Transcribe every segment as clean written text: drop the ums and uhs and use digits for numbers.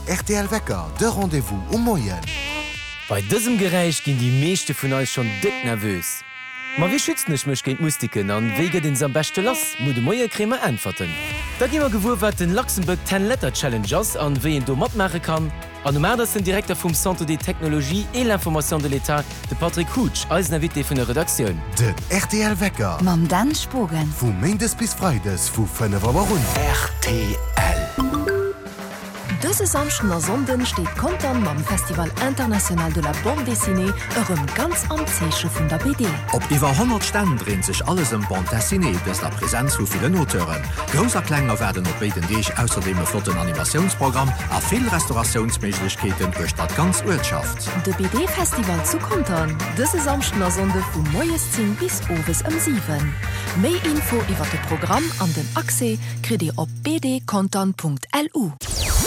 rtl Wecker, de Rendez-vous um Moien. Bei dësem Geräisch ginn déi meeschte vun eis schonn déck nervös. Ma wéi schützen ech mech géint Mustiken an wéi gëtt een se am beschte lass? Muer de Moie kréie mer Äntwerten. Da gi mer gewuer wat den Luxembourg Ten Letter Challenge ass an wéi een do matmaache kann. An um 8 ass den Direkter vum Centre des Technologies et l'Information de l'État, de Patrick Houtsch, eisen Invité vun der Redaktioun. Den rtl Wecker. Mam Dan Spogen. Vu Méindes bis Freides vu 5 Auer un. Rtl. Dëse Samschden a Sonnden steet Contern mam Festival International de la Bande Dessinée erëm ganz am Zeeche vun der BD. Op iwwer 100 Stänn dréint sech alles ëm d'Bande Dessinée, dëst a Presenz vu villen Auteuren. Grouss a Kleng erwaarden op béiden Deeg ausserdeem e flotten Animatiounsprogramm a vill Restauratiounsméiglechkeeten uechter d'ganz Uertschaft. De BD-Festival zu Contern, dëse Samschden a Sonnde vu moies 10 bis owes ëm 7. Méi Info iwwer de Programm an den Accès kritt Dir op bdcontern.lu.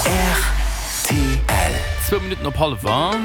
Rtl. Zwou Minutten op hallwer.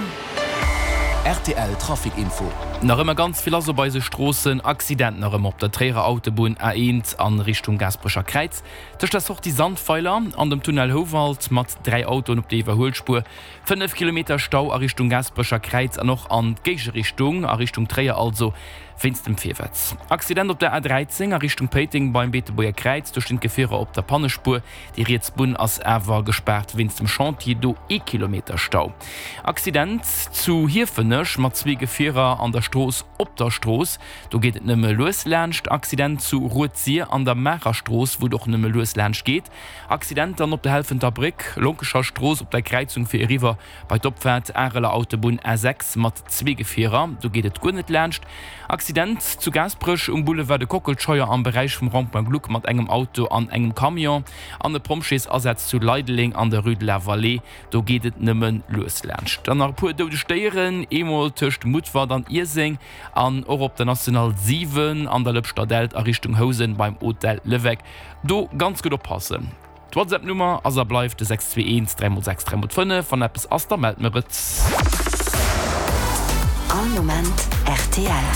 Rtl Trafic Info. Nach ëmmer ganz vill lass op eise Stroossen. Accident nach ëmmer op der Tréierer Autobunn A1 an Richtung Gaasperecher Kräiz tëscht der Sortie Sandweiler an dem Tunnel Houwald mat 3 Autoen op der Iwwerhuelspuer. 5 Kilometer Stau a Richtung Gaasperecher Kräiz an och an d'Géigerichtung, a Richtung Tréier also, wéinst dem Virwëtz. Accident op der A13 a Richtung Péiteng beim Beetebuerger Kräiz, do stinn d'Gefierer op der Pannespuer. Déi riets Bunn ass awer gespaart wéinst dem Chantier, do ee Kilometer Stau. Accident zu Hiefenech mat zwee Gefierer an der Strooss op der Strooss, do geet et nëmme lues laanscht. Accident zu Rued-Sir an der Maacher Strooss, wou et och nëmme lues laanscht geet. Accident dann op der Helfenter Bréck, Lonkecher Strooss op der Kräizung fir eriwwer bei d'Opfaart Areler Autobunn A6 mat zwee Gefierer, do geet et guer net laanscht. Accident zu Gaasperech um Boulevard de Kockelscheuer am Beräich vum Rond-point Gluck mat engem Auto an engem Camion an e Pompjeesasaz zu Leideleng an der Rue de la Vallée, do geet et nëmme lues laanscht. Dann nach e puer doudeg Déieren, eemol tëscht Mutfert an Ierseng an och op der National 7 an der Lëpschter Dällt a Richtung Housen beim Hotel Leweck. Do ganz gutt oppassen. D'Whatsapp Nummer ass a bleift de 621 3 x 6 3 x 5. Wann eppes ass, da mellt mer et. All Moment rtl.